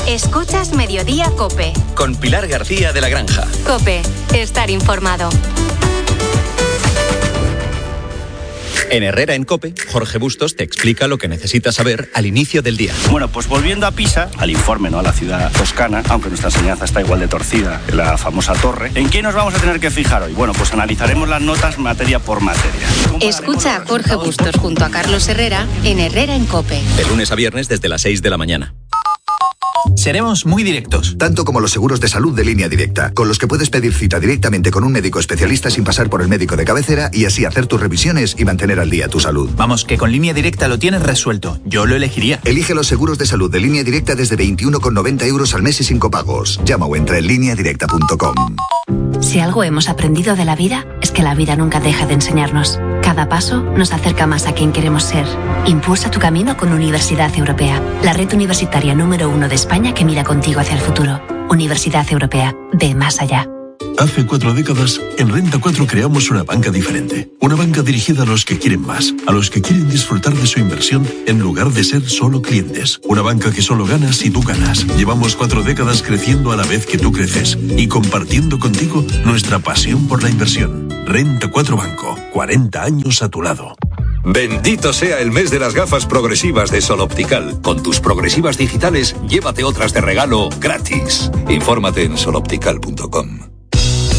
Escuchas Mediodía COPE. Con Pilar García de la Granja. COPE. Estar informado. En Herrera en COPE, Jorge Bustos te explica lo que necesitas saber al inicio del día. Bueno, pues volviendo a Pisa, al informe, ¿no? A la ciudad toscana, aunque nuestra enseñanza está igual de torcida que la famosa torre. ¿En qué nos vamos a tener que fijar hoy? Bueno, pues analizaremos las notas materia por materia. Escucha a Jorge Bustos junto a Carlos Herrera en Herrera en COPE. De lunes a viernes desde las 6 de la mañana. Seremos muy directos. Tanto como los seguros de salud de Línea Directa, con los que puedes pedir cita directamente con un médico especialista sin pasar por el médico de cabecera y así hacer tus revisiones y mantener al día tu salud. Vamos, que con Línea Directa lo tienes resuelto. Yo lo elegiría. Elige los seguros de salud de Línea Directa desde 21,90 € al mes y sin copagos. Llama o entra en lineadirecta.com. Si algo hemos aprendido de la vida, es que la vida nunca deja de enseñarnos. Cada paso nos acerca más a quien queremos ser. Impulsa tu camino con Universidad Europea, la red universitaria número 1 de España que mira contigo hacia el futuro. Universidad Europea, ve más allá. Hace 4 décadas, en Renta 4 creamos una banca diferente. Una banca dirigida a los que quieren más, a los que quieren disfrutar de su inversión en lugar de ser solo clientes. Una banca que solo gana si tú ganas. Llevamos 4 décadas creciendo a la vez que tú creces y compartiendo contigo nuestra pasión por la inversión. Renta 4 Banco, 40 años a tu lado. Bendito sea el mes de las gafas progresivas de Sol Optical. Con tus progresivas digitales, llévate otras de regalo gratis. Infórmate en soloptical.com.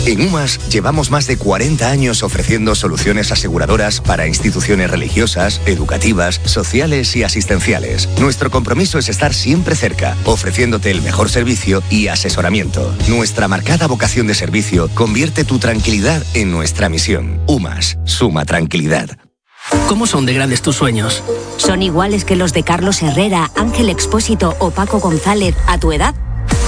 En UMAS llevamos más de 40 años ofreciendo soluciones aseguradoras para instituciones religiosas, educativas, sociales y asistenciales. Nuestro compromiso es estar siempre cerca, ofreciéndote el mejor servicio y asesoramiento. Nuestra marcada vocación de servicio convierte tu tranquilidad en nuestra misión. UMAS, suma tranquilidad. ¿Cómo son de grandes tus sueños? ¿Son iguales que los de Carlos Herrera, Ángel Expósito o Paco González a tu edad?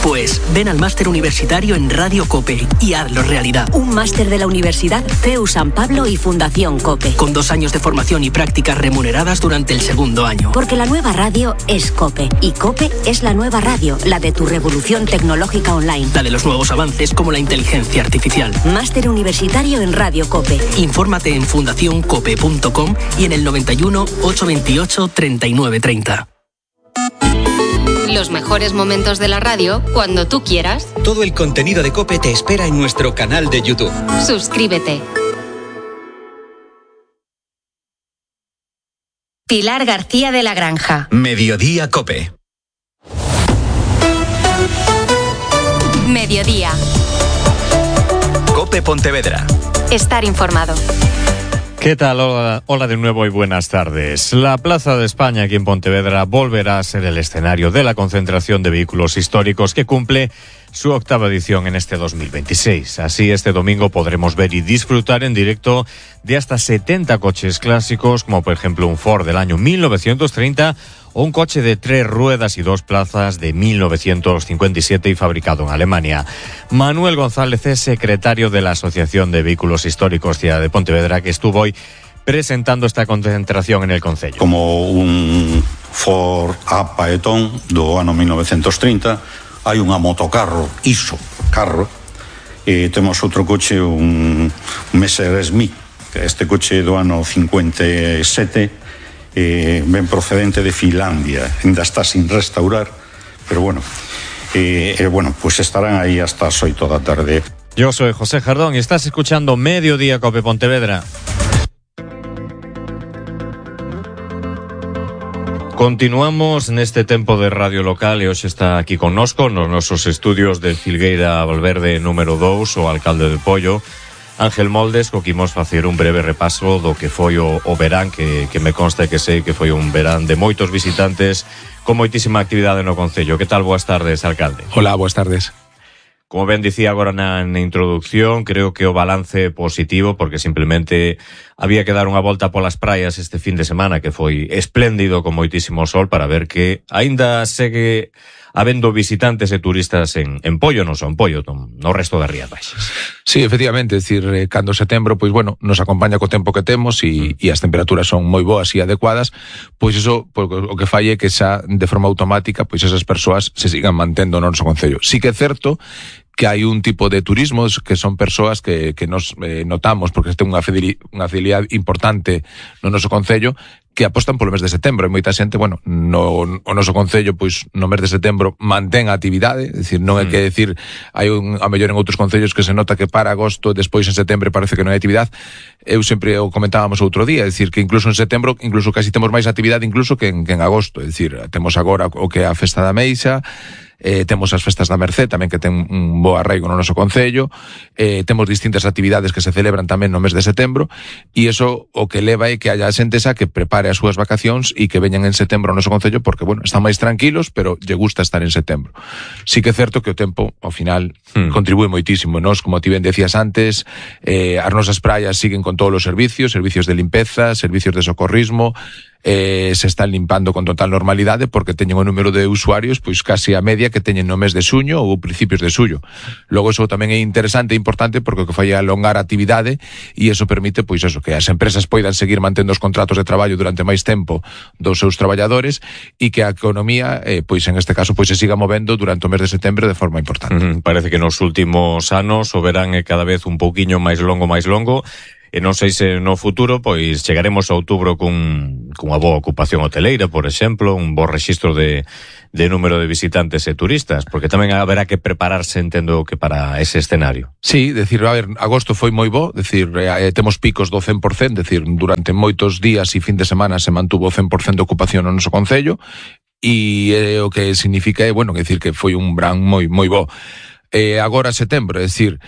Pues ven al máster universitario en Radio COPE y hazlo realidad. Un máster de la Universidad CEU San Pablo y Fundación COPE. Con 2 años de formación y prácticas remuneradas durante el 2º año. Porque la nueva radio es COPE. Y COPE es la nueva radio, la de tu revolución tecnológica online. La de los nuevos avances como la inteligencia artificial. Máster universitario en Radio COPE. Infórmate en fundacioncope.com y en el 91 828 3930. Los mejores momentos de la radio cuando tú quieras. Todo el contenido de COPE te espera en nuestro canal de YouTube. Suscríbete. Pilar García de la Granja. Mediodía COPE. Mediodía. COPE Pontevedra. Estar informado. ¿Qué tal? Hola de nuevo y buenas tardes. La Plaza de España aquí en Pontevedra volverá a ser el escenario de la concentración de vehículos históricos que cumple su 8ª edición en este 2026. Así, este domingo podremos ver y disfrutar en directo de hasta 70 coches clásicos, como por ejemplo un Ford del año 1930 o un coche de 3 ruedas y 2 plazas de 1957 y fabricado en Alemania. Manuel González es secretario de la Asociación de Vehículos Históricos Ciudad de Pontevedra, que estuvo hoy presentando esta concentración en el concello. Como un Ford A Paetón do ano 1930, hai unha motocarro, iso, carro, e temos outro coche, un Messerschmitt, que este coche do ano 57, ben procedente de Finlandia, ainda está sin restaurar, pero bueno, pues estarán ahí hasta as 8 da tarde. Yo soy José Jardón y estás escuchando Mediodía COPE Pontevedra. Continuamos neste tempo de radio local e hoxe está aquí connosco nos nosos estudios de Filgueira Valverde número 2 o alcalde de Pollo, Ángel Moldes, co que imos facer un breve repaso do que foi o verán, que me consta que sei que foi un verán de moitos visitantes con moitísima actividade no concello. Que tal? Boas tardes, alcalde. Hola, boas tardes. Como ben dicía agora na introducción, creo que o balance positivo, porque simplemente había que dar unha volta polas praias este fin de semana, que foi espléndido con moitísimo sol, para ver que aínda segue habendo visitantes e turistas en Pollo, non son Pollo, no resto das Rías Baixas. Sí, efectivamente, é dicir, cando setembro, pois bueno, nos acompaña co tempo que temos e as temperaturas son moi boas e adecuadas, pois iso, pois, o que fai é que xa de forma automática, pois esas persoas se sigan mantendo no noso concello. Sí que é certo que hai un tipo de turismo que son persoas que nos notamos, porque ten unha fidelidade importante no noso concello, que apostan polo mes de setembro. E moita xente, bueno, o noso concello, pois no mes de setembro mantén a actividade, é dicir, non é que decir, hai a mellor en outros concellos que se nota que para agosto, despois en setembro parece que non hai actividade. Eu sempre o comentábamos outro día, é dicir, que incluso en setembro, incluso casi temos máis actividade incluso que en agosto, é dicir, temos agora o que é a Festa da Meixa, temos as festas da Mercé tamén que ten un bo arraigo no noso concello, temos distintas actividades que se celebran tamén no mes de setembro, e iso o que leva é que haya xente esa que prepare as súas vacacións e que veñan en setembro ao noso concello porque, bueno, están máis tranquilos, pero lle gusta estar en setembro. Sí que é certo que o tempo, ao final, contribúe moitísimo. Nos, como ti ben decías antes, as nosas praias siguen con todos os servicios de limpeza, servicios de socorrismo, se están limpando con total normalidade porque teñen o número de usuarios pois casi a media que teñen no mes de xuño ou principios de xullo. Logo iso tamén é interesante e importante porque o que fai é alongar a actividade e iso permite pois eso, que as empresas poidan seguir mantendo os contratos de traballo durante máis tempo dos seus traballadores e que a economía pois en este caso pois se siga movendo durante o mes de setembro de forma importante. Parece que nos últimos anos o verán é cada vez un pouquiño máis longo, e non sei se no futuro pois chegaremos a outubro cunha boa ocupación hoteleira, por exemplo, un bo rexistro de número de visitantes e turistas, porque tamén haberá que prepararse, entendo, que para ese escenario. Sí, decir, a ver, agosto foi moi bo, decir, temos picos do 100%, decir, durante moitos días e fin de semana se mantuvo o 100% de ocupación no noso concello, e o que significa é, bueno, decir que foi un verán moi bo. Agora setembro, é dicir,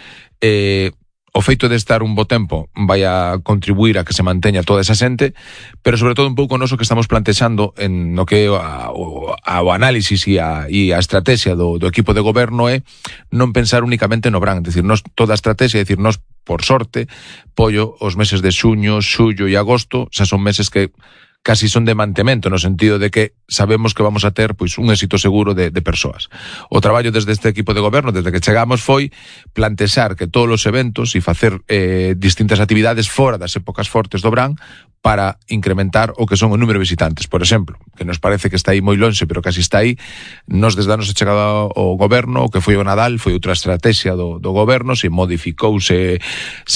o feito de estar un bo tempo vai a contribuir a que se manteña toda esa xente, pero sobre todo un pouco noso que estamos plantexando en no que o análisis e a estrategia do equipo de goberno é non pensar únicamente no verán, decir, nos toda a estrategia, decir, nos por sorte, pollo os meses de xuño, xullo e agosto, xa son meses que casi son de mantemento, no sentido de que sabemos que vamos a ter pois un éxito seguro de persoas. O traballo desde este equipo de goberno, desde que chegamos, foi plantexar que todos os eventos e facer distintas actividades fora das épocas fortes do verán para incrementar o que son o número de visitantes. Por exemplo, que nos parece que está aí moi lonxe, pero casi está aí, nos desde a nosa chegada ao goberno, o que foi o Nadal, foi outra estrategia do goberno, se modificou, se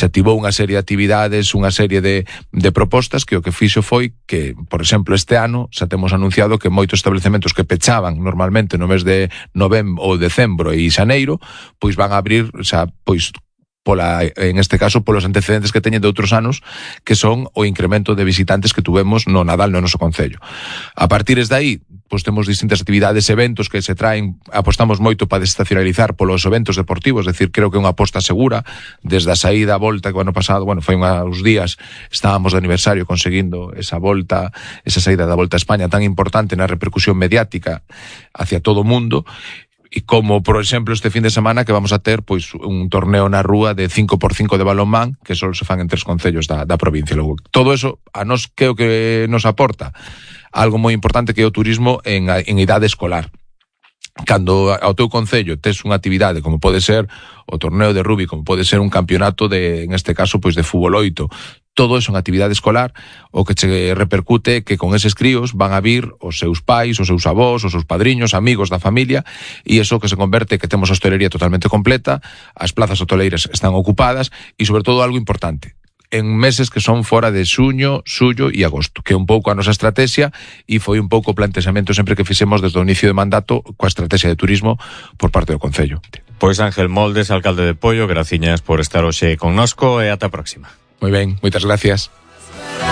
activou unha serie de actividades, unha serie de propostas que o que fixo foi que, por exemplo, este ano xa temos anunciado que moitos establecementos que pechaban normalmente no mes de novembro ou decembro e xaneiro, pois van a abrir xa, pois en este caso, polos antecedentes que teñen de outros anos, que son o incremento de visitantes que tuvemos no Nadal no noso concello. A partir de aí, pois temos distintas actividades, eventos que se traen, apostamos moito para desestacionalizar polos eventos deportivos, es decir, creo que é unha aposta segura, desde a saída a volta que o ano pasado, bueno, foi uns días, estábamos de aniversario conseguindo esa volta, esa saída da Volta a España tan importante na repercusión mediática hacia todo o mundo. E como, por exemplo, este fin de semana que vamos a ter pois un torneo na rúa de 5x5 de balonmán que só se fan en 3 concellos da provincia. Logo, todo eso a nos creo que nos aporta algo moi importante que é o turismo en idade escolar. Cando ao teu concello tes unha actividade como pode ser o torneo de rugby, como pode ser un campeonato en este caso, pois de fútbol 8, todo eso en actividade escolar, o que che repercute que con eses críos van a vir os seus pais, os seus avós, os seus padriños, amigos da familia, e eso que se converte que temos a hostelería totalmente completa, as plazas hoteleiras están ocupadas, e sobre todo algo importante, en meses que son fora de xuño, xullo e agosto, que é un pouco a nosa estrategia e foi un pouco o plantexamento sempre que fixemos desde o inicio de mandato coa estrategia de turismo por parte do Concello. Pois Ángel Moldes, alcalde de Poio, graciñas por estar hoxe connosco e ata a próxima. Moi ben, moitas gracias.